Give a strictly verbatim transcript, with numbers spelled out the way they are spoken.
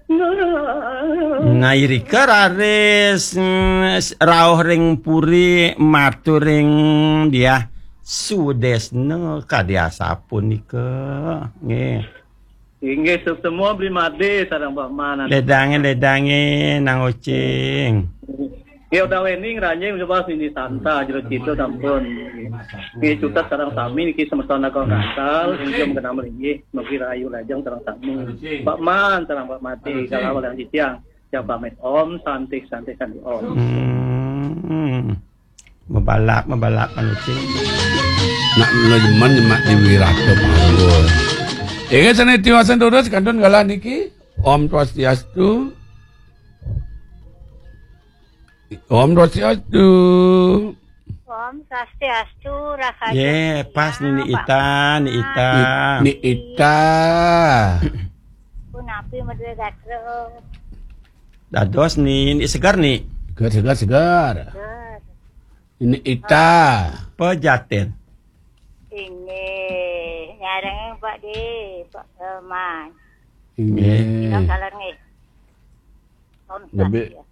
Nah, irika raris, mm, rauh ring puri, matur ring Diah Sudesna kadi asapunika. Nggih. Inggih, suksma Bli Made sareng Pak Man. Ledangé, ledangé, Nang Ucing. Ya, udawening ranjing coba sini santa jero cita sampun. Nggih, cutet sareng sami niki semeton Agung Gangsal, inggih mengenal mlinggih, mugi rahayu lajeng sareng sami. Pak Man sareng Pak Made, kalau yang titiang, ya pamit Om, santih, santih, santih Om. Hmm. Mabalap, mabalap, Nang Ucing. Nak nyemen nyemak di Wirata Panggul. Inggih, sané tiwasan terus kantun galah niki. Om Swastiastu. Om Swastiastu. Om Swastiastu, rahayu. Yé, pas Nini Ita, Nini Ita. Ni-, Nini Ita. Punapi madué gatra? Dados Nini segar, Ni. Segar, segar, segar. Segar. Nini Ita. Pejaten. Inggih, nyarengin Pak Di, Pak, eh, Man. Inggih. Bilang salah nggih. Om Lebih, Swastiastu.